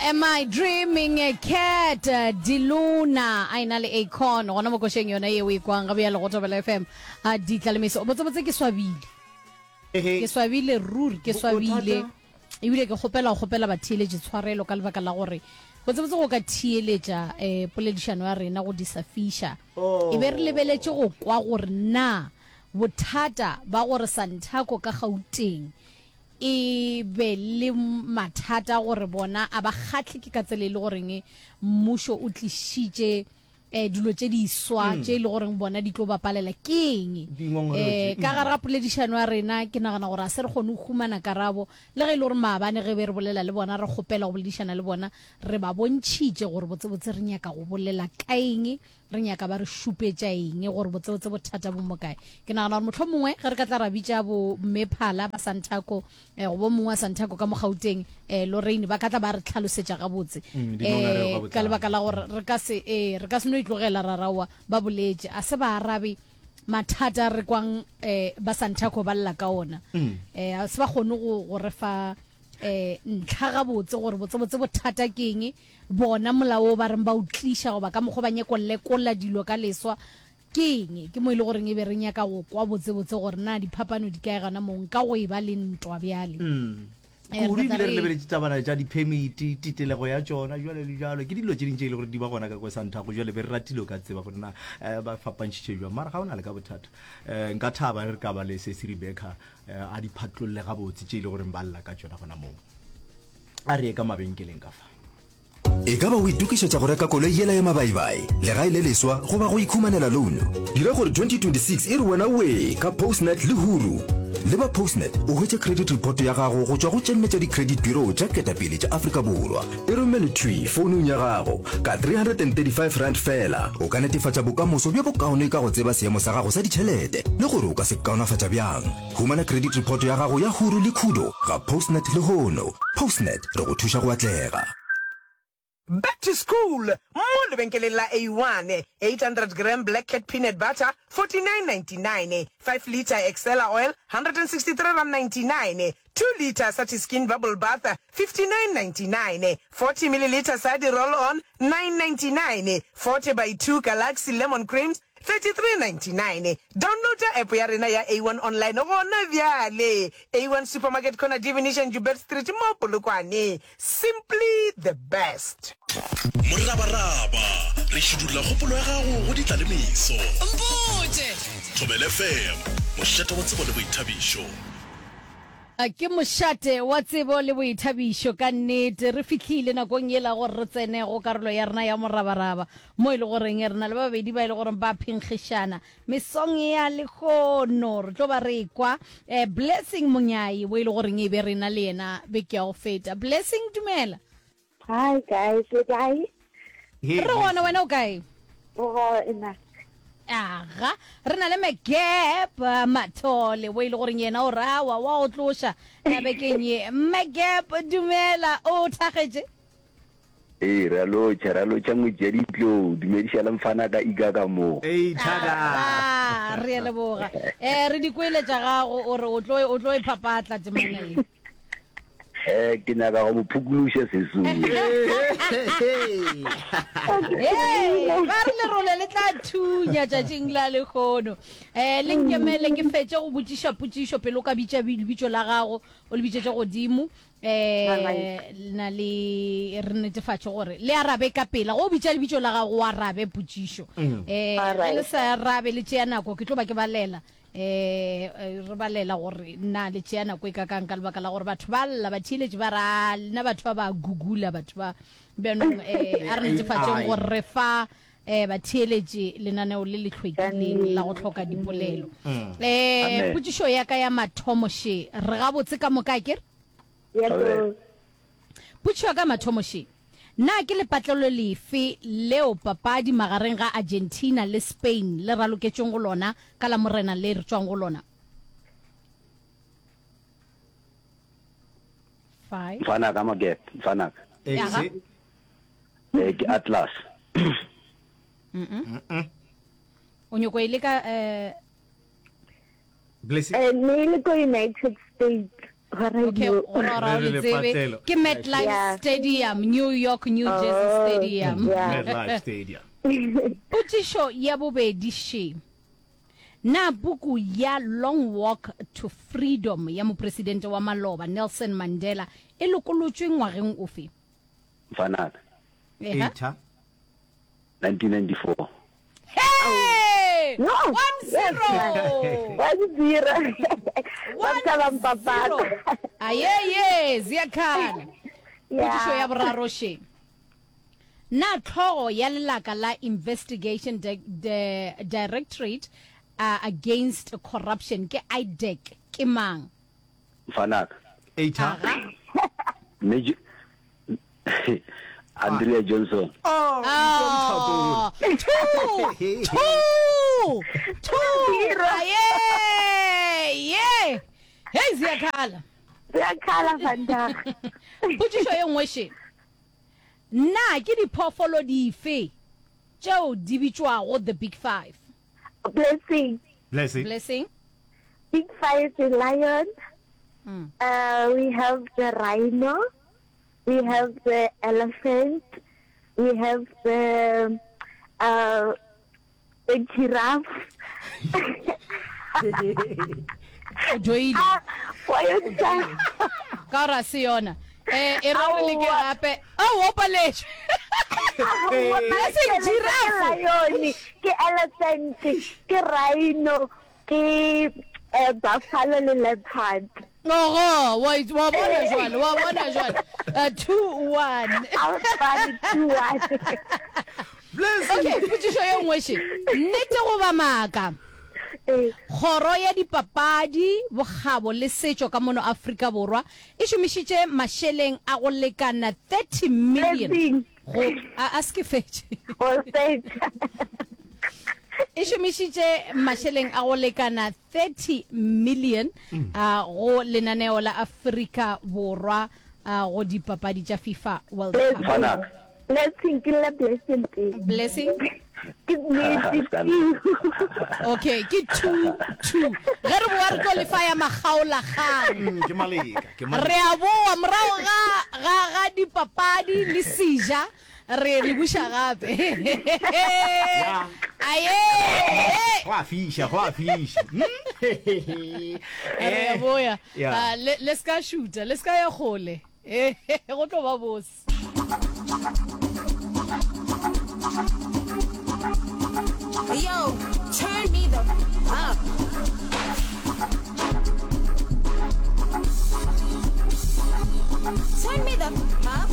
Am I Dreaming a Cat Diluna a ena le Akon gona mo košeng yona yeo e kwang ga bjale go Thobela FM a ditla le meso botsebotse ke swabile ke swabile ruri ke swabile ebile ke kgopela go kgopela batheeletši tshwarelo ka lebaka la gore botsebotse go ka theeletša um poledišano ya rena go di sa fiša e be re lebeletše go kwa gore na bothata ba gore Santaco ka Gauteng e be le mathata gore bona a ba kgahle ke ka tsela e le goreng mmušo o tlišitše um dilo tše diswa tše e le goreng bona di tlo ba palela ke eng. Um ka gare ga poledišano ya rena ke nagana gore a se re kgone go humana karabo le ge e le gore maabane ge be re bolela le bona re kgopela go boledišana le bona re ba bontšhitše gore botsebotse re nyaka go bolela ka eng Re nyaka ba re šupetša eng gore botsebotse bothata bo mo kae? Ke nagana gore mohlomongwe ge re ka tla ra bitša bo Mme Phala ba Santaco eh, gobo mongwe wa Santaco ka mo Gauteng eh, Lorraine ba ka tla ba re tlhalosetša gabotse Mm, dingongorego eh, ka ka botlalo. lebaka la gore re ka se eh, re ka se no itlogela ra raowa ba boletše a se ba arabe mathata a re kwang eh, ba Santaco ba lla ka ona eh, a se ba kgone go, go re fa eh, ntlha gabotse gore botsebotse bothata ke eng Bona molao wo ba reng ba o tliša goba ka mokgwa ba nyako lekola dilo ka leswa ke eng? Ke mo e le goreng e be re nyaka go kwa botsebotse gore na diphapano di kae gona moo nka go e ba le ntwa bjale. Eh, re Kudu tla ebile re re lebeletše tabana tša di-permit, titelego ya tšona, jwalo le jwalo. Ke dilo tše ding tše e le gore di ba gona ka kwa Santhago. Jwale be re ratile o ka tseba gore na um ba fapantšhitše jwang. Mara ga o na le ka bothata. Um nka thaba ge re ka ba le Sesi Rebecca um a di phatlolle gabotse tše e le goreng ba lla ka tšona gona moo. A re ye ka mabenkeleng ka fa. E ka ba o itokišetša go reka koloi yela ya mabaibai, legae le leswa goba go ikhumanela loan? Dira gore 2026 e re wena wee ka Postnet le Huru. Leba Postnet o hwetše credit report ya gago go tšwa go tše nne tša di-credit bureau tša ketapele tša Afrika Borwa. E romele thwi founung ya gago ka R335 feela. O ka netefatša bokamoso bjo bokaone ka go tseba seemo sa gago sa ditšhelete le gore o ka se kaonafatša bjang. Humana credit report ya gago ya Huru le Khudo ga Postnet lehono. Postnet, re go thuša go atlega. Back to school mo lebenkeleng la A1, 800 gram Black Cat peanut butter, 49.99, 5 litre Excella oil, R163.99, 2 litre Satiskin bubble bath, 59.99, 40 millilitre Sadi roll on, 9.99, 40 by 2 Galaxy lemon creams, 33.99 Downloada app ya rena ya A1 Online gona bjale. A1 Supermarket Corner Divination Joubert Street mo Polokwane. Simply the best. Morabaraba, re šidulla kgopolo ya gago go ditlalemeso. Mpotše! Thobela FM, mošate wa tsebo le boithabišo. Ke mošate wa tsebo le boithabišo ka nnete. Re fihlile nakong yela gore re tsene go karolo ya rena ya morabaraba, mo e le goreng re na le ba babedi ba e le goreng ba phenkgišana mesong ya lehono. Re tlo ba re ekwa eh, Blessing Monyai, wo e le goreng e be re na le yena beke ya go feta. Blessing, dumela. Hi guys, le kae? Hey, Re gona, wena o kae? Re gona. Aga, re na le Magap eh, Mathole, wo e le goreng yena o rawa wa o tloša ya bekeng ye. Magap, dumela, o thagetše? Ee, re a lotšha, re a lotšha ngwetši ya ditlou. Dumediša le mfana ka Ika ka moo. Ei, thaka. Aga, re a leboga. Eh, re di kwele tša gago, o re o tlo o tlo e phapatla temana ye. Eh, ke nyaka go mo phukuluša sesung. Hey, ba re lerole le tla thunya tšatšing la lehono. Eh, le nkemele ke fetše go botšiša potšišo pele o ka bitša lebitso la gago, o le bitšetše godimo. Eh, na le re netefatše gore le arabe ka pela. Go bitša lebitso la gago o arabe potšišo. Eh, ge le sa arabe le tšea nako ke tlo ba ke balela. Eh, re balela gore na le tšea nako e kakang ka lebaka la gore batho ba lla batheeletši ba ra lena batho ba ba gugula batho ba bjanong eh, a re netefatšeng gore re fa eh, batheeletši lenaneo le le hlwekileng la go hloka dipolelo um potšišo ya ka ya mathomo še re gabotse ka moka ke re Yes, Potšišo ya ka mathomo še, Na ke lepatlelo lefe leo papadi magareng ga Argentina le Spain le raloketšweng go lona ka Lamorena le re tšwang go lona? Five. Mfanaka Magep, mfanaka. Aga. Exe. Eh, ke Atlas. O nyoko e leka eh Blessing. Eh, ne e le ko United States. Gona Okay, no. go ra gore Re o re le tsebe. lepatlelo. Ke MetLife Yeah. Stadium, New York, New Jersey Oh, Stadium. yeah. MetLife Stadium. Potšišo ya bobedi še. Na puku ya Long Walk to Freedom ya mopresidente wa maloba Nelson Mandela e lokolotšwe ngwageng ofe? Mfanaka. Eha. Eita. 1994. Hey! No. 1-0. 1-0. Ba tla ba mpapata. Ayeye, ziyakhala. Potšišo ya boraro še. Na hlogo ya lelaka la Investigation Di Di Directorate uh, Against Corruption ke IDAC ke mang? Mfanaka. Eita. Aga. Major Andrea Johnson. Oh, Oh, two, two, two. Aye, ye. Hey, ziyakhala. Ziyakhala vandag. Potšišo ye nngwe še. Na ke diphoofolo dife tšeo di bitšwago the big five? Blessing. Blessing. Blessing. Big five is lion. Uh, we have the rhino. We have the elephant. We have the uh, the giraffe. O joile. Ah, wa yo tsa- Ka gore a se yona. Eh, e re re leke gape. Ao, o paletšwe. Blessing Ke giraffe. lion, ke elephant, ke rhino, ke eh, buffalo le leopard. Ogo, wa wa bona jwale, wa bona jwale. 2-1. A fane 2-1. Okay, potšišo ye nngwe še. Nnete goba maaka? Ee. Kgoro ya Dipapadi, Bokgabo le Setšo ka mono Afrika Borwa e šomišitše mašeleng a go lekana 30 million Blessing. go a, a se ke fetše. O fetša. E šomišitše mašeleng a go lekana 30 million a go lenaneo la Afrika Borwa a go dipapadi tša FIFA World Cup. Mfanaka. Blessing ke lla blessing pele. Blessing. Ke nnete two. Okay, ke 2 2. Ge re boa re tlo lefa ya makgaolakgang. Ke maleka, ke maleka. Re a boa morago ga ga ga dipapadi le seja re le buša gape. Aye. Go a fiša, go a fiša. Re a boya. Yeah. Ah, le le ska šuta, le ska ya kgole. Go tlo ba bose. Yo, turn me the up. Turn me the up.